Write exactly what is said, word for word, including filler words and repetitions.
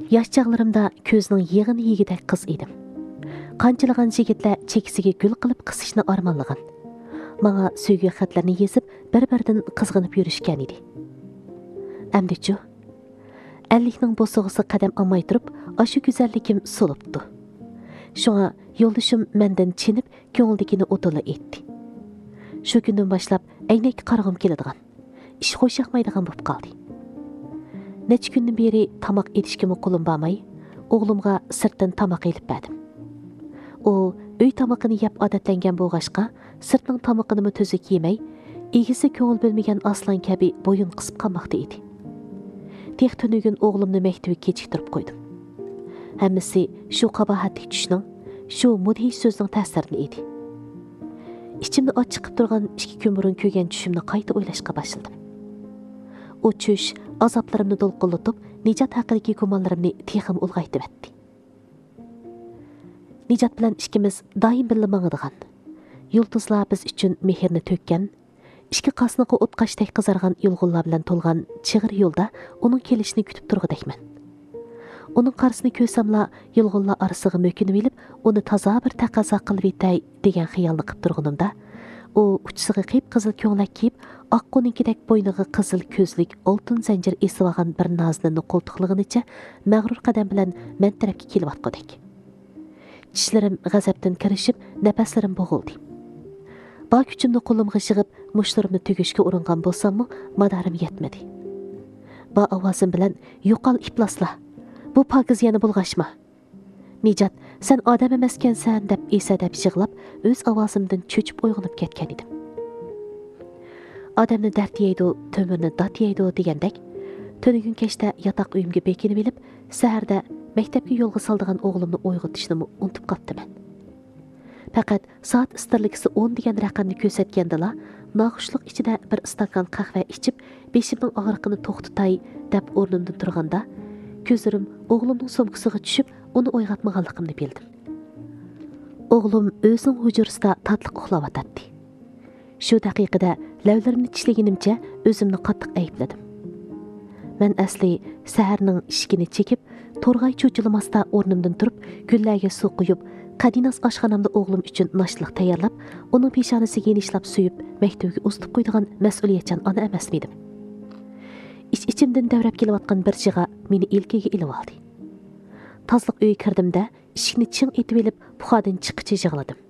ياش چاغلىرىمدا كۆزنىڭ يېغىنى يېگۈدەك قىز ئىدىم. قانچىلىغان يىگىتلەر چېكىسىگە گۈل قىلىپ قىسىشنى ئارمانلىغان. ماڭا سۆيگۈ خەتلىرىنى يېزىپ، بىر-بىرىدىن قىزغىنىپ يۈرۈشكەن ئىدى. ئەمدىچۇ؟ ئەللىكنىڭ بوسۇغىسىغا قەدەم ئالماي تۇرۇپ، ئاشۇ گۈزەللىكىم سولۇپتۇ. شۇڭا يولدىشىم مەندىن چېنىپ، كۆڭلىدىكىنى ئوتتۇرىغا ئېيتتى. شۇ كۈندىن باشلاپ ئەينەككە قارىغۇم كېلىدىغان، ئىش خوش ياقمايدىغان بولۇپ قالدى. نەچچە كۈندىن بېرى تاماق ئېتىشكىمۇ قولۇم بارماي، ئوغلۇمغا سىرتتىن تاماق ئېلىپ بەردىم. ئۇ ئۆي تامىقىنى يەپ ئادەتلەنگەن بولغاچقا، سىرتنىڭ تامىقىنىمۇ تۈزۈك يېمەي، ئىگىسى كۆڭۈل بۆلمىگەن ئاسلان كەبى بويۇن قىسىپ قالماقتا ئىدى. تېخى تۈنۈگۈن ئوغلۇمنى مەكتىۋىگە كېچىكتۈرۈپ قويدۇم. ھەممىسى شۇ قاباھەتلىك چۈشنىڭ، شۇ مۇدھىش سۆزنىڭ تەسىرىدىن ئىدى. ئىچىمنى ئاچچىقىپ تۇرغان ئىككى كۈن بۇرۇن كۆرگەن چۈشۈمنى قايتا ئويلاشقا باشلىدىم. ئۇ چۈش ئازابلىرىمنى دولقۇنلىتىپ، نىجات ھەققىدىكى گۇمانلىرىمنى تېخىمۇ ئۇلغايتىۋەتتى. نىجات بىلەن ئىككىمىز دائىم بىللە ماڭىدىغان، يۇلتۇزلار بىز ئۈچۈن مېھرىنى تۆككەن، ئىككى قاسنىقى ئوتقاشتەك قىزارغان يۇلغۇنلار بىلەن تولغان چىغىر يولدا ئۇنىڭ كېلىشىنى كۈتۈپ تۇرغۇدەكمەن. ئۇنىڭ قارىسىنى كۆرسەملا، يۇلغۇنلار ئارىسىغا مۆكۈنۈۋېلىپ، ئۇنى تازا بىر تەقەززا قىلىۋېتەي دېگەن خىيالنى قىپ تۇرغىنىمدا، ئۇ ئۇچىسىغا قىپقىزىل كۆڭلەك كىيىپ، ئاققۇنىڭكىدەك بوينىغا قىزىل كۆزلۈك، ئالتۇن زەنجىر ئېسىۋالغان بىر نازىنىننى قولتۇقلىغىنىچە مەغرۇر قەدەم بىلەن مەن تەرەپكە كېلىۋاتقۇدەك. چىشلىرىم غەزەپتىن كىرىشىپ، نەپەسلىرىم بوغۇلدى. بار كۈچۈمنى قولۇمغا يىغىپ، مۇشتلىرىمنى تۈگۈشكە ئۇرۇنغان بولساممۇ، مادارىم يەتمىدى. بار ئاۋازىم بىلەن، «يوقال، ئىپلاسلا! بۇ پاكىز يەنە بۇلغاشما! نىجات، سەن ئادەم ئەمەسكەنسەن!» دەپ ئېسەدەپ يىغلاپ، ئۆز ئاۋازىمدىن چۆچۈپ ئويغىنىپ كەتكەن ئىدىم. «ئادەمنى دەرد يەيدۇ، تۆمۈرنى دات يەيدۇ» دېگەندەك، تۈنۈگۈن كەچتە ياتاق ئۆيۈمگە بېكىنىۋېلىپ، سەھەردە مەكتەپكە يولغا سالىدىغان ئوغلۇمنى ئويغىتىشنىمۇ ئۇنتۇپ قاپتىمەن. پەقەت سائەت ئىستىرلىكىسى ئون دېگەن رەقەمنى كۆرسەتكەندىلا، ناخۇشلۇق ئىچىدە بىر ئىستاكان قەھۋە ئىچىپ، بېشىمنىڭ ئاغرىقىنى توختىتاي دەپ ئورنۇمدىن تۇرغاندا، كۆزلىرىم ئوغلۇمنىڭ سومكىسىغا چۈشۈپ، ئۇنى ئويغاتمىغانلىقىمنى بىلدىم. ئوغلۇم ئۆزىنىڭ ھۇجرىسىدا تاتلىق ئۇخلاۋاتاتتى. شۇ دەقىقىدە لەۋلىرىمنى چىشلىگىنىمچە ئۆزۈمنى قاتتىق ئەيىبلىدىم. مەن ئەسلى سەھەرنىڭ ئىشىكىنى چېكىپ، تورغاي چۇچۇلىماستا ئورنۇمدىن تۇرۇپ، گۈللەرگە سۇ قۇيۇپ، قەدىناس ئاشخانامدا ئوغلۇم ئۈچۈن ناشتىلىق تەييارلاپ، ئۇنىڭ پېشانىسىگە يېنىچلاپ سۆيۈپ، مەكتىۋىگە ئۇزىتىپ قويىدىغان مەسئۇلىيەتچان ئانا ئەمەسمىدىم؟ ئىچ-ئىچىمدىن دەۋرەپ كېلىۋاتقان بىر جىغا مېنى ئىلكىگە ئېلىۋالدى. تازىلىق ئۆيگە كىردىم-دە، ئىشىكنى چىڭ ئېتىۋېلىپ، پۇخادىن چىققىچە يىغلىدىم.